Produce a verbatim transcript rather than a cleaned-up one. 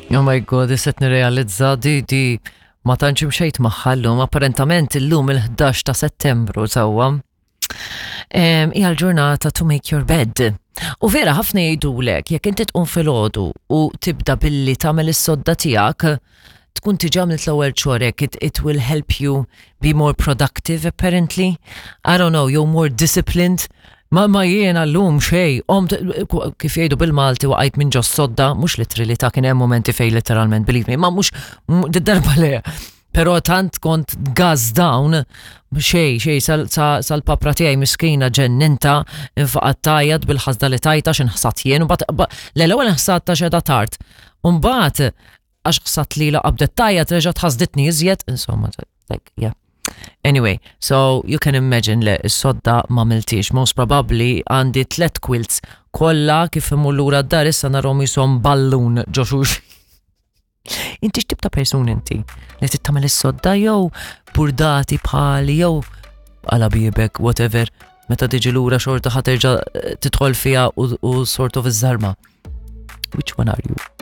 Oh my God, issa nirrealizza di di ma tantx imxejt magħha llum, apparentament illum il-ħdax ta' Settembru sewwa. Em, Hija l-ġurnata to make your bed. U vera ħafna jgħidulek, jekk inti tqum filgħodu u tibda billi tagħmel is-sodda tiegħek, tkun diġà għamilt l-ewwel chore-ek, it, it will help you be more productive apparently. I don't know, you're more disciplined. Ma ma jiena llum xej, om kif jgħidu bil-Malti waqajt minn ġo sodda, mhux literally ta' kien hemm momenti fej literalment, believe me, ma mhux darba le. Pero tant kont gas down, xej, xej, sal-papra tiegħi miskina ġenninta, infaqat tajjat bil-ħasda li tajta x'inħsat jien, u bat, l-ewwel nħsat ta' xeda tard. Umbagħad, għax ħsat li la qabdet tajjat, reġgħet ħasditni iżjed, insomma, like, yeah. Anyway, so you can imagine li s-sodda ma għamiltix. Most probably għandi tlet quilts kollha kif imur lura d-dar issa narahom jisom ballun ġo xulxin. Inti x'tip ta' person inti? Li tittamel is-sodda jew burdati bħali jew għala bibek, whatever, meta tiġi lura xorta ħa terġa' tidħol fiha u, u sort of iż-żarma. Which one are you?